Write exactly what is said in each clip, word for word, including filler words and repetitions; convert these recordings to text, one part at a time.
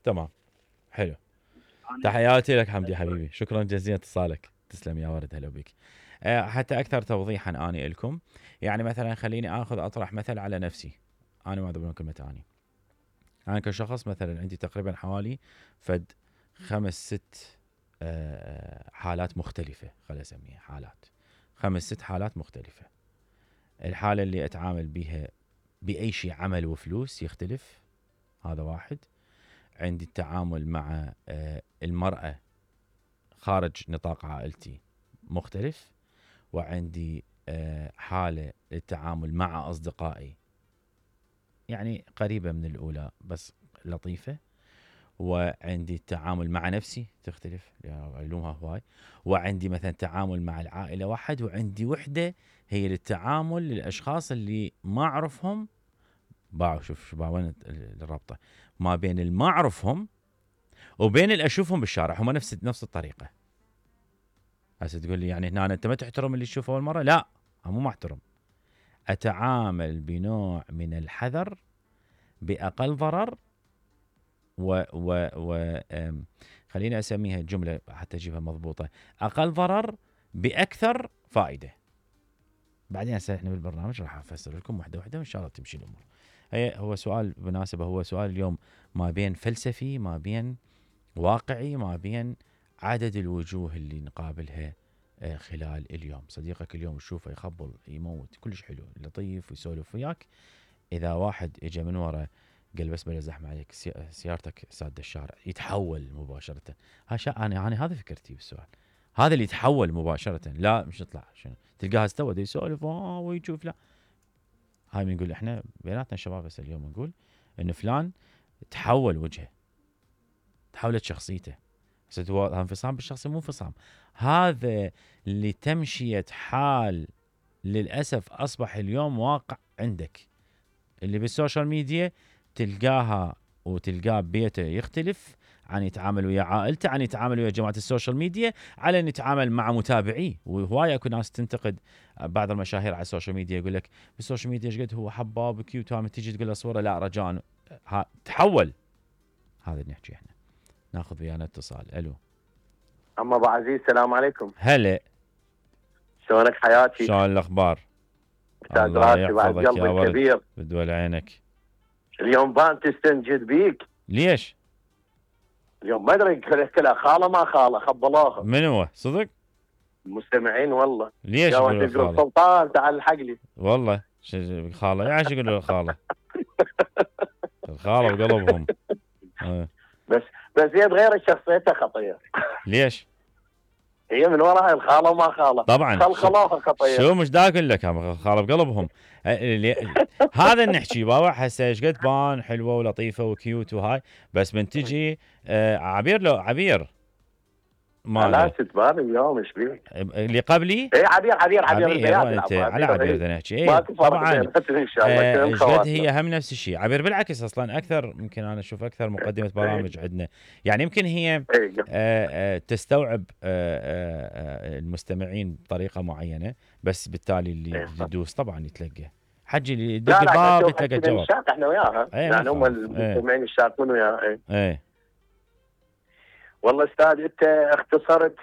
تمام حلو. تحياتي لك حمدي حبيبي، شكرا جزيلا اتصالك، تسلم يا ورد، هلا بك. أه حتى اكثر توضيحا اني لكم، يعني مثلا خليني اخذ اطرح مثل على نفسي، انا ما ادري كلمه اني انا كشخص مثلا عندي تقريبا حوالي فد خمس ست أه حالات مختلفه، خليني اسميها حالات، خمس ست حالات مختلفه. الحاله اللي اتعامل بها باي شيء عمل وفلوس يختلف، هذا واحد. عندي التعامل مع أه المراه خارج نطاق عائلتي مختلف، وعندي أه حاله للتعامل مع اصدقائي يعني قريبه من الاولى بس لطيفه، وعندي التعامل مع نفسي تختلف علومها هواي، وعندي مثلا تعامل مع العائله واحد، وعندي وحده هي للتعامل للاشخاص اللي ما اعرفهم. باعوا شوف شو وين الرابطه ما بين اللي ما اعرفهم وبين اللي اشوفهم بالشارع، هم نفس نفس الطريقه. هسه تقول لي يعني هنا انت ما تحترم اللي تشوفه اول مره؟ لا، مو ما احترم، اتعامل بنوع من الحذر باقل ضرر، و و و خليني اسميها جمله حتى اجيبها مضبوطه، اقل ضرر باكثر فائده. بعدين هسه احنا بالبرنامج راح افسر لكم واحده واحده وان شاء الله تمشي الامور. هي هو سؤال بالمناسبه، هو سؤال اليوم ما بين فلسفي، ما بين واقعي، ما بين عدد الوجوه اللي نقابلها خلال اليوم. صديقك اليوم تشوفه يخبل يموت كلش حلو لطيف ويسولف وياك، اذا واحد اجى من ورا قال بس بلا زحمه عليك سيارتك ساده الشارع، يتحول مباشره. هاشا انا انا هذا فكرتي بالسؤال، هذا اللي يتحول مباشره، لا مش يطلع شنو تلقاها استوى يسولف اه ويشوف. لا، هاي بنقول احنا بيناتنا الشباب بس اليوم نقول ان فلان تحول وجهه، تحولت شخصيته. هذا انفصام بالشخصيه، مو انفصام، هذا لتمشيه حال للاسف اصبح اليوم واقع عندك. اللي بالسوشيال ميديا تلقاها وتلقاه ببيته يختلف عن يتعامل ويا عائلته، عن يتعامل ويا جماعه السوشيال ميديا، على ان يتعامل مع متابعيه. وهوايه اكو ناس تنتقد بعض المشاهير على السوشيال ميديا، يقول لك بالسوشيال ميديا ايش قد هو حباب كيوت، تام تيجي تقول له صوره لا رجاء تحول. هذا اللي نحكي احنا. ناخذ ويانا اتصال. الو اما ابو عزيز، السلام عليكم. هلا، شلونك حياتي؟ شلون الاخبار؟ الله يحفظك يا ولد كبير، بدول عينك. اليوم بان تستنجد بيك. ليش؟ اليوم ما ادري كلها خاله ما خاله خبلوها. من هو صدق؟ المستمعين والله. ليش يقولوا خاله؟ سلطان تعال الحق لي. والله خاله يعني يقولوا الخاله؟ الخاله بقلبهم. بس بس هي تغير شخصيتها خطير. ليش؟ هي من وراها الخاله وما خاله طبعا خلخلوها خطير. شو مش دا اقول لك خاله بقلبهم. هذا نحكي بابا هسه ايش قد بان حلوه ولطيفه وكيوت وهاي، بس من تجي آه عبير لو عبير ما لا تتبان اليوم ايش بيك؟ اللي قبلي اي عبير عبير عبير, عبير انت على عبير بدنا نحكي. اي طبعا ان شاء الله ايش قد هي هم نفس الشيء. عبير بالعكس اصلا اكثر، يمكن انا اشوف اكثر مقدمه برامج عندنا، يعني يمكن هي آآ آآ تستوعب آآ المستمعين بطريقه معينه، بس بالتالي اللي يدوس طبعا يتلقى حجي اللي يدق الباب يتلقى الجواب. الشاق احنا وياها يعني هم المستمعين الشاقون وياها. اي والله استاذ انت اختصرت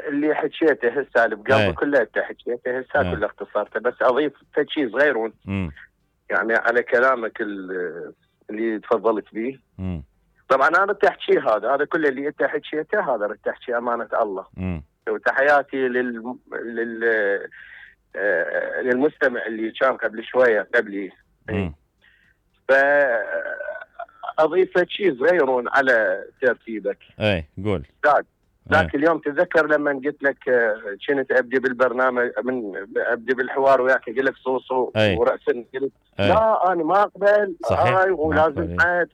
اللي حكيته هسه البقلب كله انت حكيته هسه كله اختصرته، بس اضيف شيء صغير يعني على كلامك اللي تفضلت به. مم. طبعا انا تحكي هذا هذا كل اللي انت حكيته هذا تحكي امانه الله. مم. وتحياتي لل لل للمستمع اللي كان قبل شويه قبلي. ف اضيف شيء صغير على ترتيبك. اي قول. ذاك اليوم تذكر لما قلت لك كنت ابدي بالبرنامج من ابدي بالحوار وياك قلت لك صوصو وراسا قلت لا انا ما اقبل هاي ولازم عاد.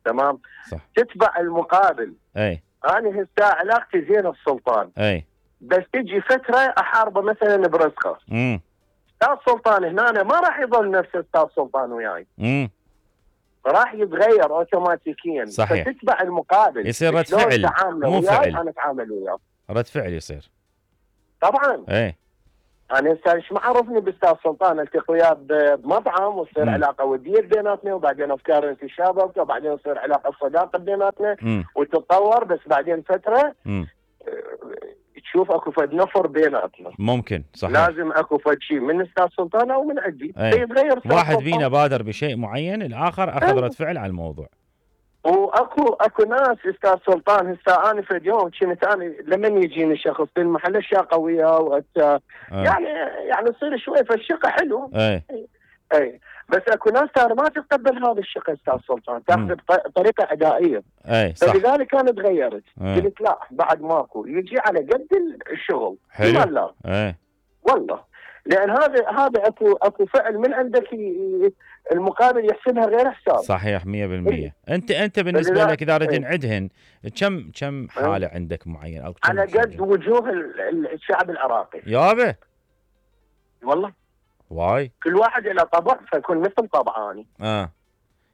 تمام صح. تتبع المقابل. اي انا هسه علاقتي زين السلطان. اي بس تجي فتره احاربه مثلا برزقه. امم استاذ سلطان هنا أنا ما راح يظل نفس استاذ سلطان وياي. امم راح يتغير اوتوماتيكيا. صحيح. فتتبع المقابل يصير رد فعل مو فعل. انا اتعامل وياه رد فعل يصير طبعا. ايه انا هسه ايش ما عرفني باستاذ سلطان التقي وياه بمطعم وتصير علاقه وديه بيناتنا، وبعدين افكار تشابك، وبعدين تصير علاقه صداقه بيناتنا وتتطور، بس بعدين فتره م. تشوف اكو فد نفر بيناتنا. ممكن صحيح. لازم اكو فد شيء من استاذ سلطان او من عندي يتغير. واحد فينا بادر بشيء معين، الاخر اخذ رد فعل على الموضوع. واكو اكو ناس استاذ سلطان هسه انا في اليوم كنت انا لما يجيني شخص بالمحل الشاقه وياه وأت... يعني يعني يصير شوي فالشقه حلو. اي اي بس اكو ناس ترى ما تتقبل هذا الشقه استاذ سلطان، تاخذ بطريقه عدائيه. اي صح. فلذلك انا تغيرت. قلت لا بعد ماكو، يجي على قد الشغل. حلو. لا اي والله، لان هذا هذا اكو اكو فعل من عندك المقابل يحسبها غير حساب. صحيح مية بالمية. إيه؟ انت انت بالنسبه لك اذا ردنا نعدهن كم كم حاله إيه؟ عندك معين او على قد وجوه الشعب العراقي يابا والله. واي كل واحد له طبع فيكون مثل طبعاني. اه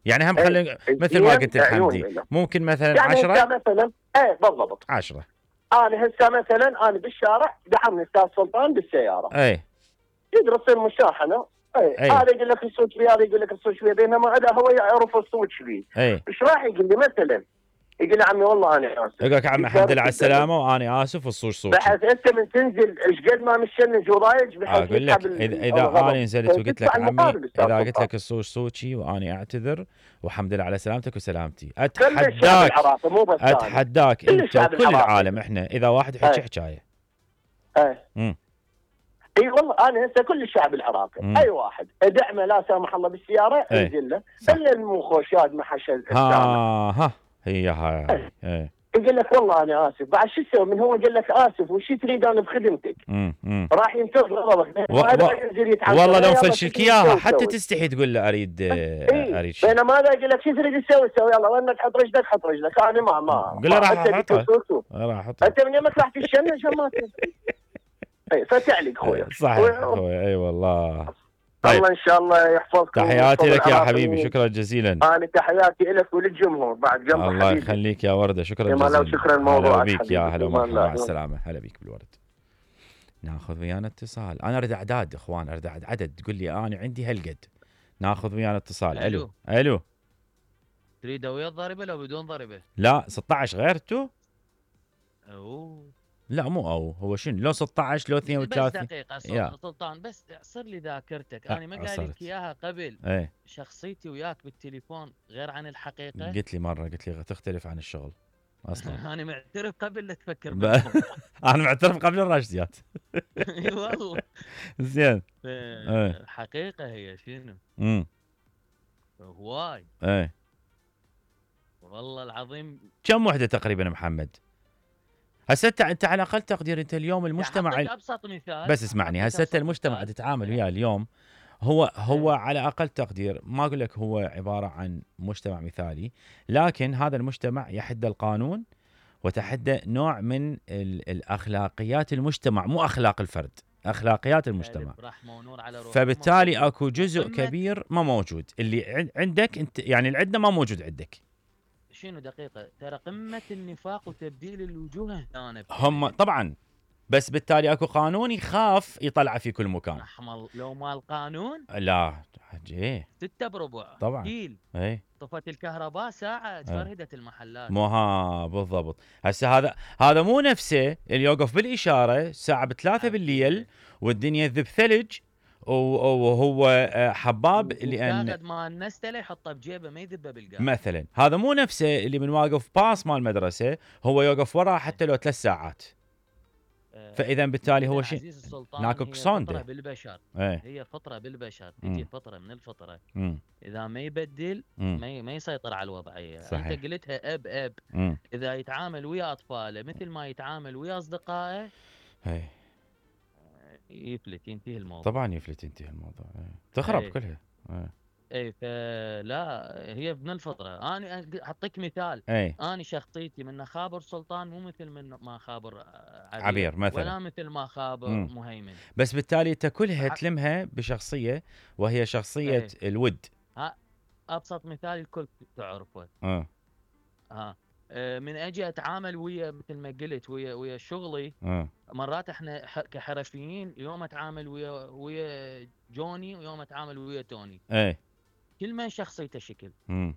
يعني هم خلي ايه؟ مثل ما قلت الحمدي ممكن مثلا يعني عشرة يعني مثلا ايه بالضبط عشرة. انا هسه مثلا انا بالشارع دعمني استاذ سلطان بالسياره. اي يقدر يصير مشاحنه. اي هذا يقول لك الصوت فيه، هذا يقول لك الصوت فيه، بينما هذا هو يعرف الصوت فيه. ايش راح يقول لي مثلا؟ يقول لي عمي والله انا اسف. يقول لك عمي الحمد لله على السلامه وانا اسف والصوت صوتي. بحيث انت من تنزل ايش قد ما مشنج وضايج بحيث اقول لك اذا اذا انا نزلت وقلت لك عمي اذا قلت لك الصوت صوتي وانا اعتذر والحمد لله على سلامتك وسلامتي، اتحداك اتحداك انت وكل العالم احنا اذا واحد يحكي حكايه. اي اي والله انا هسه كل الشعب العراقي مم. اي واحد ادعمه لا سامح الله بالسياره انزل له الا المخوشات ما حشد ها ها هي هاي اي يقول لك والله انا اسف، بعد شو تسوي من هو قال لك اسف وش تريد انا بخدمتك؟ راح ينتظر غضبك. و... و... والله لو فشلك اياها حتى تستحي تقول له اريد اريد شيء. بينما هذا يقول لك شو تريد تسوي سوي يلا وينك حط رجلك حط رجلك انا ما ما قول له راح احطها راح احطها انت من يومك راح تشنج ما اي فتعلق خويا. صحيح اخوي اي والله. طيب. الله ان شاء الله يحفظك. تحياتي لك يا حبيبي، شكرا جزيلا. انا تحياتي لك وللجمهور بعد جنب الله حبيبي. يخليك يا ورده، شكرا جزيلا. شكرا الموضوع هلا بيك يا هلا ومرحبا مع السلامه. هلا بيك بالورد. ناخذ ويانا اتصال. انا اريد اعداد اخوان، اريد عدد تقول لي انا عندي هالقد. ناخذ ويانا اتصال. الو الو تريده ويا الضريبه لو بدون ضريبه؟ لا ستة عشر غير تو؟ اوه لا مو او هو شنو لو ستة عشر لو اثنين وثلاثين. بس دقيقه سلطان بس صر لي ذاكرتك. انا ما قايل لك اياها قبل. ايه شخصيتي وياك بالتليفون غير عن الحقيقه. قلت لي مره قلت لي تختلف عن الشغل اصلا. انا معترف قبل لا تفكر. انا معترف قبل الراشديات. اي والله. زين. الحقيقه هي شنو؟ امم هواي. ايه والله العظيم. كم وحده تقريبا محمد؟ هسه انت على اقل تقدير انت اليوم المجتمع يعني ابسط مثال بس اسمعني هسه المجتمع تتعامل وياه اليوم هو هو على اقل تقدير، ما اقول لك هو عباره عن مجتمع مثالي، لكن هذا المجتمع يحد القانون وتحدى نوع من الاخلاقيات المجتمع، مو اخلاق الفرد، اخلاقيات المجتمع. فبالتالي اكو جزء كبير ما موجود اللي عندك انت، يعني اللي عندنا ما موجود عندك. شنو دقيقة ترى قمة النفاق وتبديل الوجوه هنا هم طبعا، بس بالتالي اكو قانون يخاف يطلع في كل مكان. احمر لو ما القانون لا حجي ستة بربع طبعا ديل. اي طفت الكهرباء ساعة فرهدت المحلات. مو ها بالضبط. هسه هذا هذا مو نفسه اللي يوقف بالاشارة الساعة بثلاثة بالليل والدنيا ذب ثلج وهو حباب لان ياخذ مال نستله يحطه بجيبه ما يذبه بالقاع مثلا. هذا مو نفسه اللي من واقف باص مال المدرسه هو يوقف وراه حتى لو ثلاث ساعات. فاذا بالتالي هو شيء ناكو فطره بالبشر. ايه. هي فطره بالبشر تجي فتره من الفطره مم. اذا ما يبدل ما ما يسيطر على الوضعيه. صحيح. انت قلتها اب اب مم. اذا يتعامل ويا اطفاله مثل ما يتعامل ويا اصدقائه هي. يفلت ينتهي الموضوع. طبعا يفلت ينتهي الموضوع. ايه. تخرب ايه. كلها. ايه. اي فلا هي من الفطره. انا اعطيك مثال. ايه. انا شخصيتي من خابر سلطان مو مثل من ما خابر عبير, عبير مثلا ولا مثل ما خابر مم. مهيمن. بس بالتالي انت كلها تلمها بشخصيه وهي شخصيه ايه. الود. ها ابسط مثال الكل تعرفه. اه ها من اجي اتعامل ويا مثل ما قلت ويا ويا شغلي. اه مرات احنا كحرفيين يوم اتعامل ويا ويا جوني ويوم اتعامل ويا توني. اي كل من شخصيته شكل. امم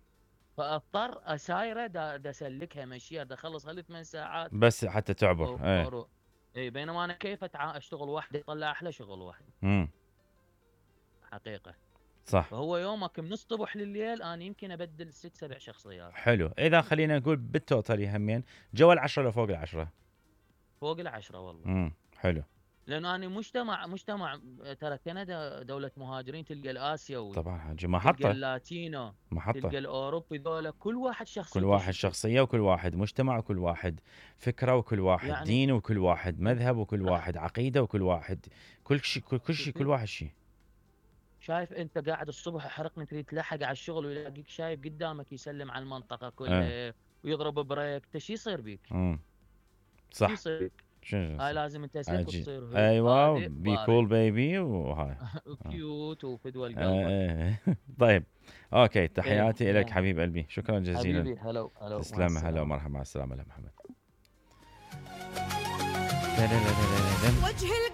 فاضطر اسايره دا, دا اسلكها مشيها دا اخلص هالثمان ثمان ساعات بس حتى تعبر. اي اي بينما انا كيف أتع... اشتغل وحدي اطلع احلى شغل وحدي. امم حقيقه صح. فهو يومك من الصبح لليل انا يمكن ابدل ست سبع شخصيات. حلو. اذا خلينا نقول بالتوتال همين جوا العشرة لفوق العشرة؟ فوق العشرة والله. امم حلو. لانه انا مجتمع مجتمع ترى كندا دولة مهاجرين، تلقى الاسيوي طبعا حاجي محطة، تلقى اللاتينو، محطة، تلقى الاوروبي، ذولا كل واحد شخصيته، كل واحد شخصية وكل واحد مجتمع وكل واحد فكرة وكل واحد يعني دين وكل واحد مذهب وكل واحد عقيدة وكل واحد كل شيء كل, كل شيء كل واحد شيء. شايف انت قاعد الصبح حرقني تريد تلحق على الشغل ويلاقيك شايف قدامك يسلم على المنطقة كلها أه. ويضرب بريك، انت شو يصير بيك؟ امم صح. شو يصير بيك؟ هاي لازم انت سلك وتصير ايوه بي كول بيبي وهاي كيوت وفدوى القلب. آه. طيب اوكي تحياتي لك حبيب قلبي، شكرا جزيلا حبيبي. هلا هلا تسلم. هلا ومرحبا، مع السلامه. محمد. وجه القمر